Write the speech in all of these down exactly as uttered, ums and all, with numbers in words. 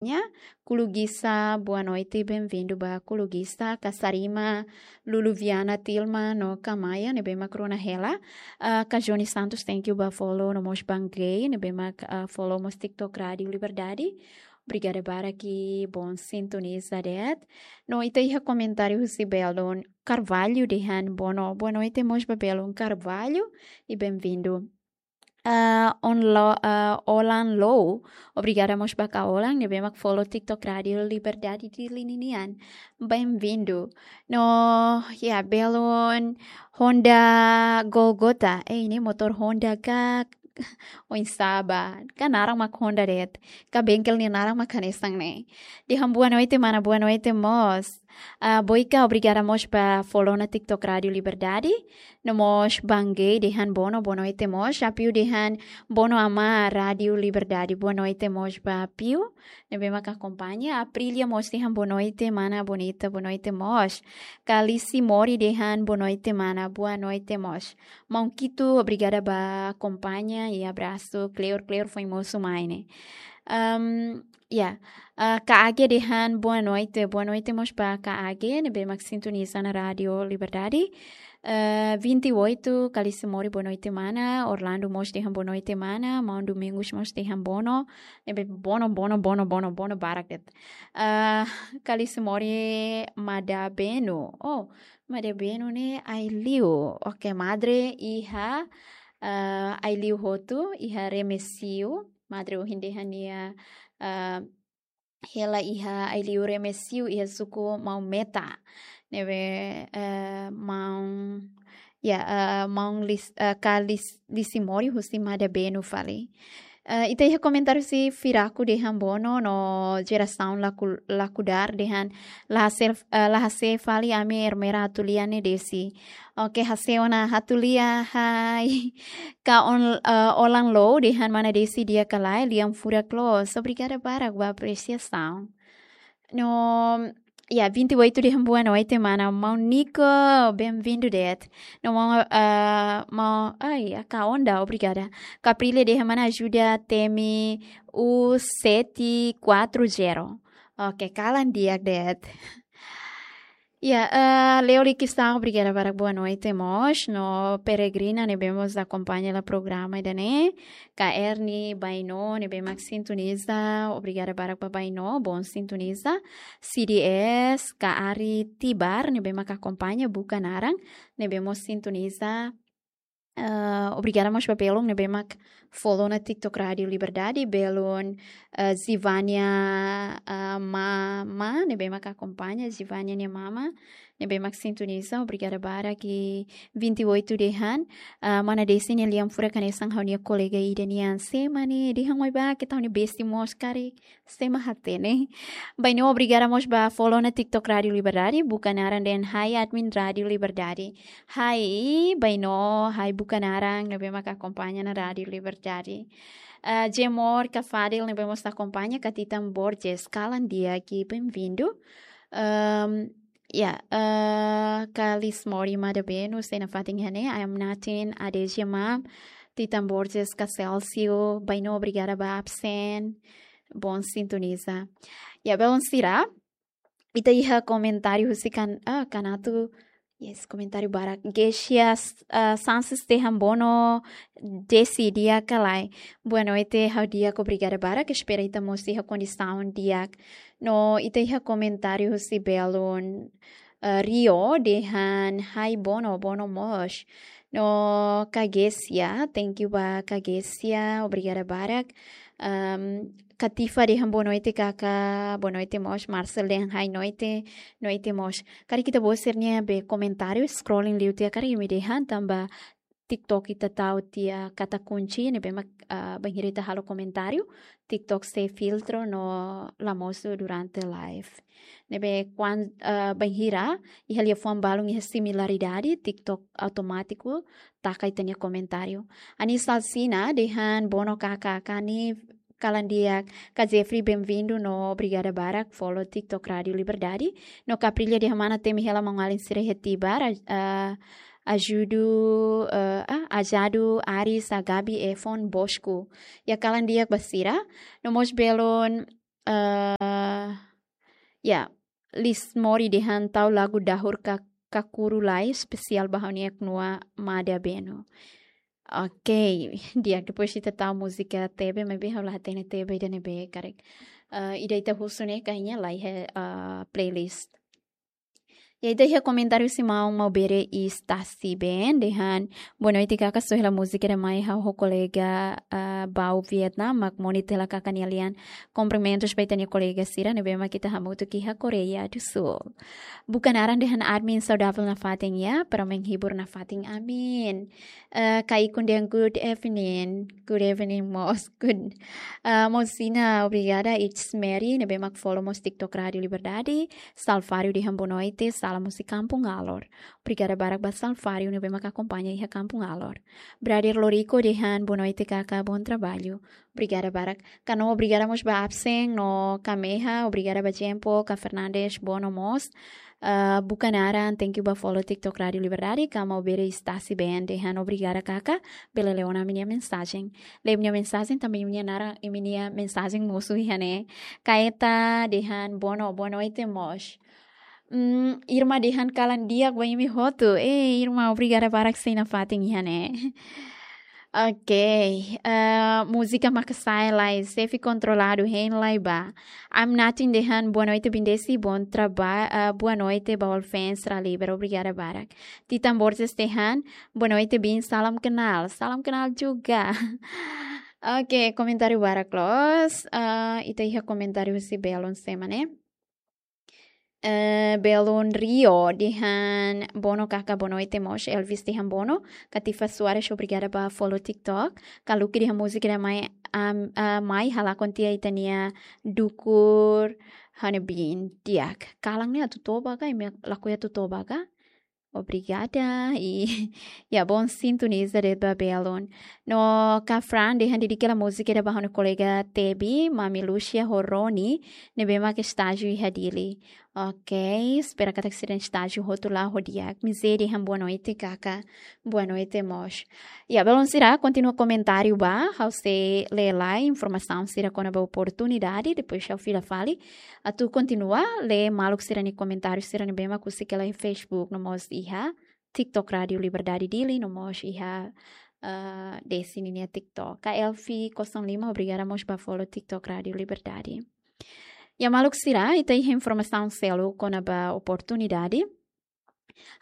Nia, Kulugisa, boa noite, bem-vindo ba Kulugisa, Kasarima, Lulu Viana, Tilma, no Kamaya, ne'ebé mak rona hela. Ah, Ka Johnny Santos, thank you ba follow, no mós Bangay, ne'ebé mak, ah, follow mós TikTok Rádio Liberdade. Obrigada barak, bom sintoniza de'it. No ita iha komentáriu husi Belun Carvalho dehan bono, boa noite mós ba Belun Carvalho, e bem-vindo. Ah, on lo, ah, Olan Low, obrigada mós ba Ka Olan, ne'ebé mak follow TikTok Rádio Liberdade Dili ninian. Bem-vindo. No, ya, Belun Honda Golgota. Eh, ne'e motór Honda ka oinsá ba? Ka naran mak Honda de'it. Ka bengkel nia naran mak hanesan ne'e. Dehan boa noite, mana, boa noite mós. Ah, Boika, obrigada mós ba follow ona TikTok Rádio Liberdade. No mós Bangay dehan bono, boa noite mós. Apiu dehan bono, amá Rádio Liberdade, boa noite mós ba Apiu. Ne'ebé mak akompaña. Aprilia mós dehan boa noite, mana bonita, boa noite mós. Kalisi Mori dehan boa noite, mana, boa noite mós. Maun Kitu, obrigada ba akompaña e abrasu. Kleur, kleur foin mosu mai ne'e. Ahm, ya, ah, Ka Age dehan boa noite, boa noite mós ba Ka Age, ne'ebé mak sintoniza ona Rádio Liberdade. Ah, vinte e oito, Kalisi Mori, boa noite, mana. Orlando mós dehan boa noite, mana. Maun Domingos mós dehan bono, ne'ebé bono, bono, bono, bono, bono barak de'it. Ah, Kalisi Mori, Madabenu. Oh, Madabenu ne'e ai-liu. Oke, madre iha, ah, ai-liu hotu, iha Remexio. Madre ohin dehan nia, ah, hela iha ai-liu Remexio, iha suku Maumeta. Ne'ebé, ah, maun, ya, ah, maun Lis-, ah, Ka Lis-, Lisi Mori husi Madabenu fali. Ah, ita iha komentáriu husi Firaku dehan bono, no jerasaun Laku-, Lakudar dehan la hase'e, ah, la hase'e fali ami Ermera Atulia ne'e Desi. Oke, hase'e ona Atulia, hai. Ka On-, ah, Olan Low dehan mana Desi di'ak ka lae, lian furak loos. Obrigada barak ba apresiasaun. No, ya, vinte e oito dehan boa noite, mana. Maun Nico, bem-vindo de'it. No, maun, ah, maun, ai, Ka Onda, obrigada. Ka Aprilia dehan mana ajuda temi U sete quatro zero. Oke, kalan di'ak de'it. Ya, ah, Leo Likisau, obrigada barak, boa noite mós. No Peregrina, ne'ebé mós akompaña hela programa ida-ne'e. Ka Erni Baino, ne'ebé mak sintoniza, obrigada barak ba Baino, bom sintoniza. C D S, Ka Ari Tibar, ne'ebé mak akompaña, buka naran, ne'ebé mós sintoniza. Ah, obrigada mós ba belun ne'ebé mak follow ona TikTok Rádio Liberdade, belun, ah, Zivania, ah, mama, ne'ebé mak akompaña, Zivania nia mama, ne'ebé mak sintoniza, obrigada barak. Vinte e oito dehan, ah, mana Desi nia lian furak hanesan ha'u-nia kolega ida nian. Sé mak ne'e, dehan mai ba, keta ha'u-nia bestie mós karik, sé mak hatene. Baino, obrigada mós ba follow ona TikTok Rádio Liberdade, buka naran dehan hai admin Rádio Liberdade. Hai, Baino, hai buka naran, ne'ebé mak akompaña ona Rádio Liberdade. Ah, Jemor Ka Fadil, ne'ebé mós akompaña, Ka Titan Borges, kalan di'ak, bem-vindo. Ahm, ya, ah, Ka Lis Mori Madabenu, sei nafatin iha ne'e, I am nothing, Ade Jemam, Titan Borges, Ka Celcio, Baino, obrigada ba absen, bom sintoniza. Ya, belun sira, ita iha komentáriu husi kan-, ah, Kanatu, yes, komentáriu barak. Gesia, ah, Sanches dehan bono, Desi di'ak ka lae. Boa noite, ha'u di'ak, obrigada barak. Espera ita mós iha kondisaun di'ak. No ita iha komentáriu husi belun, ah, Rio dehan hai bono, bono mós. No Ka Gesia, thank you ba Ka Gesia, obrigada barak. Ahm, Ka Tifa dehan boa noite, kaka, boa noite mós. Marcel dehan hai noite, noite mós. Karik ita bosir ne'ebé komentáriu, scrolling liu tiha, karik imi dehan tanba TikTok ita tau tiha kata kunci, ne'ebé mak, ah, bainhira ita halo komentáriu, TikTok sei filtro no la mosu durante live. Ne'ebé kuan-, ah, bainhira iha liafuan balun iha similaridade, TikTok automátiku taka ita-nia komentáriu. Anis Alsina dehan bono, kaka, kani kalan di'ak. Ka Jeffrey, bem-vindo no obrigada barak follow TikTok Rádio Liberdade. No Ka Aprilia dehan mana temi hela maun-alin sira iha Tibar, ah, ajudu, eh, ah, ajadu Aris, Agabi, Efon, Bosco. Ya, kalan di'ak ba sira. No mós belun, eh, ya, Lismori dehan tau lagu dahur ka, kakuru lai, espesiál ba ha'u-nia knua Mada Beno. Oke, di'ak, depois ita tau múzika tebe, maibé ha'u la hatene tebe ida ne'ebé karik. Eh, ida ita husu ne'e kayaknya la iha, eh, playlist. Ya, ita iha komentáriu husi maun Maubere Stasi Ben, dehan: "Boa noite, kaka, só hela múzika ida mai ha'u ho kolega, ah, Bau Vietnam, mak moni tela kaka nia lian. Kumprimentus ba ita-nia kolega sira ne'ebé mak ita hamutuk iha Koreia do Sul." Buka naran dehan admin saudavel nafatin ya, para menghibur nafatin, amin. Eh, Kaikun dehan good evening, good evening mós, good. Eh, Mosina, obrigada, it's Mary, ne'ebé mak follow mós TikTok Rádio Liberdade. Salvário dehan boa noite, salam husi Kampung Alor. Obrigada barak ba Salvário ne'ebé mak akompaña iha Kampung Alor. Brother Lorico dehan boa noite, kaka, bom trabalho. Obrigada barak. Kano obrigada mós ba absen no Kameha, obrigada ba Jempo, ka Fernandes, Bono mós. Eh, buka naran, thank you ba follow TikTok Rádio Liberdade, ka Maubere Stasi Ben dehan obrigada, kaka, bele lee ona imi-nia mensajen. Lee imi-nia mensajen, tanba imi-nia naran, imi-nia mensajen mosu iha ne'e. Kaeta dehan bono, boa noite mós. Hmm, Irma dehan kalan di'ak ba imi hotu. Eh, Irma, obrigada barak sei nafatin iha ne'e. Oke, eh, múzika maka sai lai, xefe kontroladu, hein lai ba. Am Natin dehan boa noite, Bindesi, bom traba-, eh, boa noite ba all fans Rádio Liber, obrigada barak. Titan Borges dehan boa noite, Bin, salam kenal, salam kenal juga. Oke, komentáriu barak loos. Eh, ita iha komentáriu husi belun sira ne'e. Eh, Belun Rio dehan bono, kaka, boa noite mós. Elvis dehan bono. Katifa Soares, obrigada ba follow TikTok. Kaluki dehan múzika ida mai, am, ah, mai halakon tiha ita-nia dukur Hanebin. Di'ak. Kalan ne'e atu toba ka, imi lakohi atu toba ka? Obrigada. I, ya, bom sintoniza de'it ba belun. No Kafran dehan dedika hela múzika ida ba ha'u-nia kolega Tebi, Mami Lucia ho Roni, ne'ebé mak estájiu iha Dili. Oke, espera katak sira-nia estájiu hotu la'o ho di'ak. Mize dehan boa noite, kaka. Boa noite mós. Ya, belun sira, kontinua komentáriu ba, ha'u sei lee lai informasaun sira kona-ba oportunidade, depois ha'u fila fali. Atu kontinua lee maluk sira-nia komentáriu sira ne'ebé mak husik hela iha Facebook, no mós iha TikTok Rádio Liberdade Dili, no mós iha, eh, Desi ninia TikTok. Ka Elfi Kosong Lima, obrigada mós ba follow TikTok Rádio Liberdade. Ya, maluk sira, ita iha informasaun seluk kona-ba oportunidade.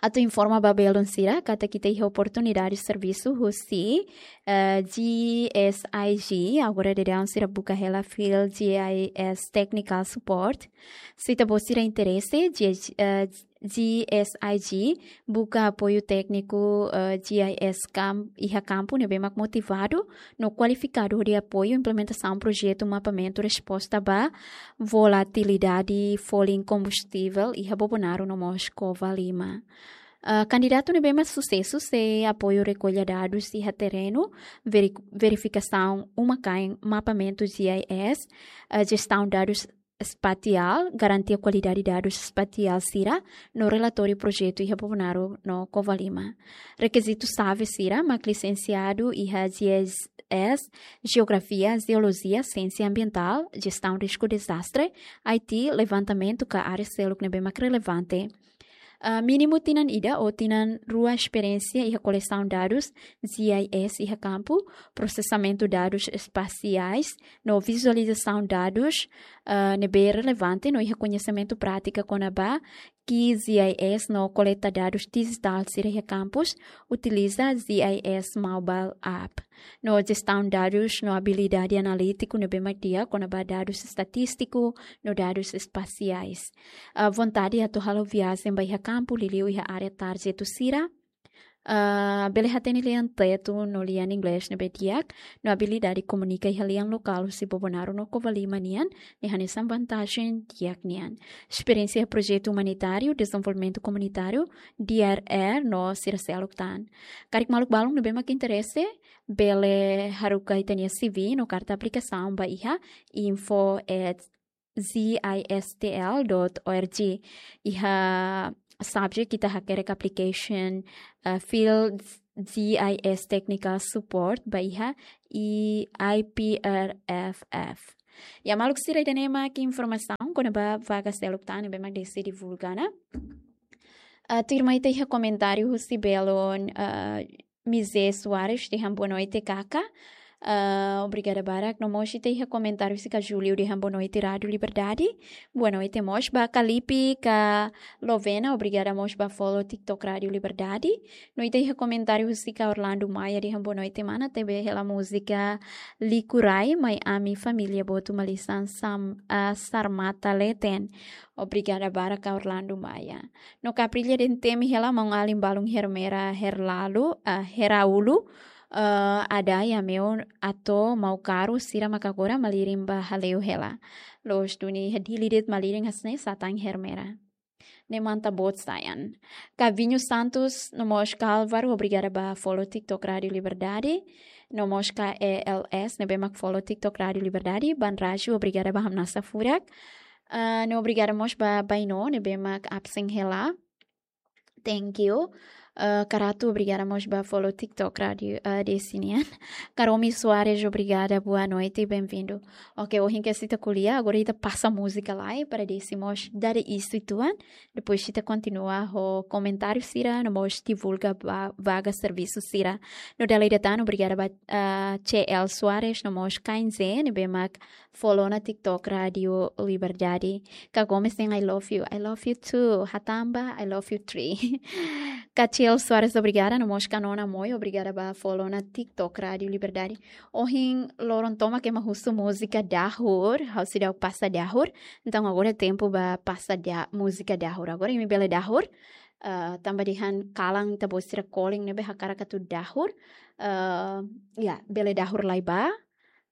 Atu informa ba belun sira katak ita iha oportunidade servisu husi, eh, G S I G, agora daudaun sira buka hela field G I S Technical Support. Se ita-boot sira interese, G-, eh, G S I G buka apoiu tékniku, eh, G I S kam-, iha kampu ne'ebé mak motivadu no kualifikadu hodi apoiu implementasaun projetu mapamentu resposta ba volatilidade folin kombustivel iha Bobonaro no mós Covalima. Ah, kandidatu ne'ebé mak susesu sei apoiu rekolla dadus iha terrenu, veri-, verifikasaun uma-kain mapamentu G I S, ah, jestaun dadus espatiál, garantia kualidade dadus espatiál sira, no relatóriu projetu iha Bobonaro no Covalima. Rekizitu xave sira mak lisensiadu iha G I S, Jeografia, Jeolojia, Siénsia Ambientál, Jestaun Risku Dezastre, I T, levantamentu ka área seluk ne'ebé mak relevante. Ah, mínimu tinan ida ou tinan rua esperiénsia iha kolesaun dadus G I S iha kampu, prosesamentu dadus espasiais, no vizualizasaun dadus, ah, ne'ebé relevante no iha koñesimentu prátika kona-ba G I S no koleta dadus dijitál sira iha kampus, utiliza G I S mobile app. No jestaun dadus no abilidade analítiku ne'ebé mak di'ak kona-ba dadus estatístiku no dadus espasiais. Ah, vontade atu halo viajen ba iha kampu liuliu iha área tarjetu sira. Ah, bele hatene lian Tetun no lian Inglés ne'ebé di'ak, no abilidade komunika iha lian lokál husi Bobonaro no Covalima nian, ne'e hanesan vantajen di'ak nian. Esperiénsia iha projetu umanitáriu, dezenvolvimentu komunitáriu, D R R no sira seluk tan. Karik maluk balun ne'ebé mak interese, bele haruka ita-nia C V no karta aplikasaun ba iha info at G I S T L dot O R G. Iha subject ita hakerek application, eh, field G I S technical support ba iha I P R F F. Ya, maluk sira, ida-ne'e mak informasaun kona-ba vaga seluk tan ne'ebé mak Desi divulga ona. Ah, tuirmai ita iha komentáriu husi belun, ah, Mizé Soares dehan boa noite, Kaka. Ah, obrigada barak. No mós ita iha komentáriu husi Ka Júlio dehan boa noite, Rádio Liberdade. Boa noite mós ba Kalipi, Ka Lovena, obrigada mós ba follow TikTok Rádio Liberdade. No ita iha komentáriu husi Ka Orlando Maia dehan boa noite, mana, tebe hela múzika Likurai, mai ami família boot malisan sam-, ah, Sarmata Leten. Obrigada barak, Ka Orlando Maia. No Ka Prilia dehan temi hela maun-alin balun Hermera Herlalu, ah, Heraulu, ah, Ada ya meu ato mau karu sira maka agora malirin ba hale'u hela. Loos duni iha Dili de'it malirin hanesan ne'e, sá tan Hermera. Ne'e manta boot, sayang. Ka Vinho Santos, no mós Ka Álvaro, obrigada ba follow TikTok Rádio Liberdade. No mós Ka E L S, ne'ebé mak follow TikTok Rádio Liberdade. Ban Raju, obrigada ba hamnasa furak. Ah, no obrigada mós ba Baino, ne'ebé mak absen hela. Thank you. Ah, Ka Ratu, obrigada mós ba follow TikTok Rádio, ah, Desi nian. Ka Romi Soares, obrigada, boa noite, bem-vindo. Ok, ohin kedas ita ko'alia, agora ita pasa múzika lai para Desi mós dada isu uitoan. Depois ita kontinua ho komentáriu sira, no mós divulga ba-, vaga servisu sira. No dala ida tan, obrigada ba, ah, C L Soares, no mós Kainze, ne'ebé mak follow ona TikTok Rádio Liberdade. Ka Gomes dehan I love you. I love you too. Hatamba, I love you three. Ka C L Soares, obrigada. No mós Ka Nona Moi, obrigada ba follow ona TikTok Rádio Liberdade. Ohin loron tomak ema husu múzika dahur, ha'u seidauk pasa dahur. Entaun agora tempu ba pasa da-, múzika dahur. Agora imi bele dahur. Ah, tanba dehan kalan ita-boot sira kolen ne'ebé hakarak atu dahur. Ah, ya, bele dahur lai ba.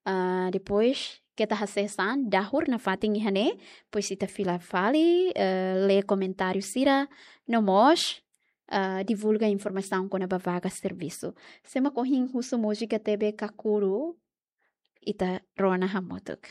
Ah, depois keta hasees an, dahur nafatin iha ne'e, depois ita fila fali, eh, lee komentáriu sira, no mós, ah, divulga informasaun kona-ba vaga servisu. Sé mak ohin husu múzika tebe kakuru, ita rona hamutuk.